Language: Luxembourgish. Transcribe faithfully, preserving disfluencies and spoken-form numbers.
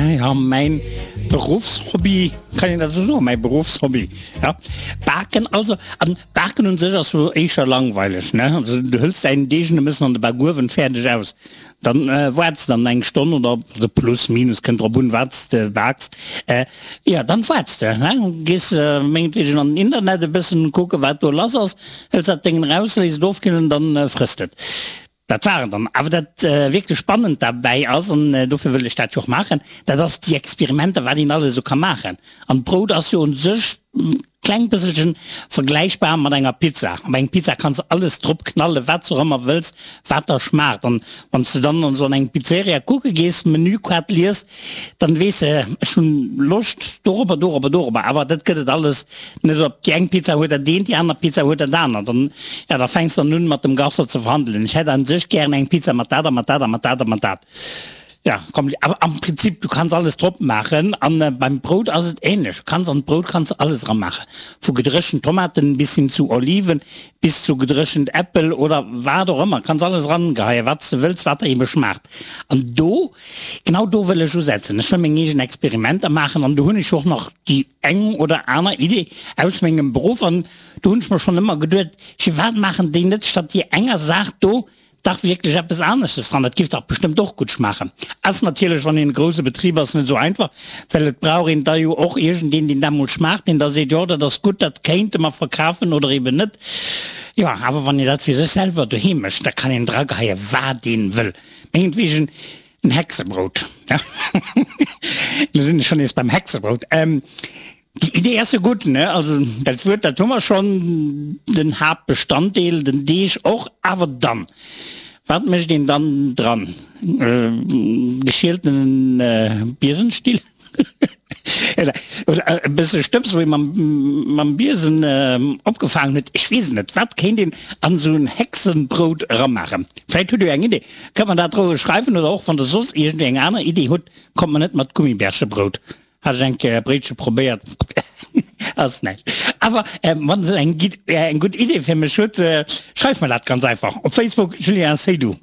Ja, ja, mäin Beruffshobby, kann een dat esou soen, mäi Beruffshobby, ja. Baken also, an Baken un sech ass jo éischter langweileg, ne? Also du hëls däin Deeg e bëssen an de Bakuewen, fäerdeg, aus. Dann waarts de dann eng Stonn oder also plus minus, kënnt drop un wat s de baaks, jo dann waarts de, ne, gees mengetwegen an den Internet e bëssen kucken wat do lass ass, hëls dat Déngen eraus, léiss et ofkillen, dann frëss de et. Dat war et dann. Awer dat wierklech Spannend derbäi ass, an dofir wëll ech dat jo och maachen, dat ass déi Experimenter wat een alles esou ka maachen. An d'Brout ass jo un sech kleng bësselchen vergläichbar mat enger Pizza. Op eng Pizza kanns de alles drop knallen, wat s de och ëmmer wëlls, wat der schmaacht. An wann s de dann an esou an eng Pizzeria kucke gees, d'Menükaart liest, dann weess de, ech hunn Loscht dorobber, dorobber, dorobber. Awer dat gëtt et alles net. Op déi eng Pizza huet dat eent, déi aner Pizza huet dat anert. An ja, da fänks dann un mat dem Gastro ze verhandelen, ech hätt an sech gären eng Pizza mat dat a mat dat a mat dat a mat dat. Ja, komm, awer am Prinzip, du kanns alles drop maachen. An beim Brout ass et ähnlech. Du kanns an d'Brout kanns de alles eramaachen, vu gedréchent Tomaten bis hin zu Oliven, bis zu gedréchent Äppel oder wat och ëmmer. Kanns alles erangeheien, wat s de wëlls, wat der ebe schmaacht. An do, genau do wëll ech usetzen. Ech wëll meng eegen Experimenter maachen an do hunn ech och nach déi eng oder aner Idee aus mengem Beruff. An do hunn ech mer schonn ëmmer geduet, firwat maachen déi net statt déi enger Saach do dach wierklech eppes aneschtes dran, dat giff dach bestëmmt och gutt schmaachen. Ass natierlech, wann een e grousse Betrib ass, net esou einfach, well et brauch een da jo och iergendeen, deen dat mol schmaacht, deen da seet, jo dat ass gutt, dat kéinte mer verkafen oder eben net. Jo, awer wann een dat fir sech selwer doheem mécht, da kann een drageheien, wat een wëll. Mengetwegen en Hexebrout, ja, lo sinn ech schonn nees beim Hexebrout. Déi Idee ass jo gutt, ne? Also dat Wuert, dat hu mer schonn, den Haaptbestanddeel, den Deeg och. Awer dann, wat mécht een dann dran? Geschielten Biesenstill oder e bësse Stëbs, wou ee mam, mam Biesen opgefaangen huet? Ech weess et net. Wat kéint een an esou en Hexenbrout eramaachen? Vläicht hutt Dir eng Idee. Kënnt mer dat roueg schreiwen oder och wann Der soss iergendwéi eng aner Idee hutt, kommt mer net mat Gummibärchebrout. Hat ech eng Kéier e Bréitche probéiert, ass näischt. Awer wann se eng eng gutt Idee fir mech hutt, schreift mer dat ganz einfach op Facebook, Julien Seydoux.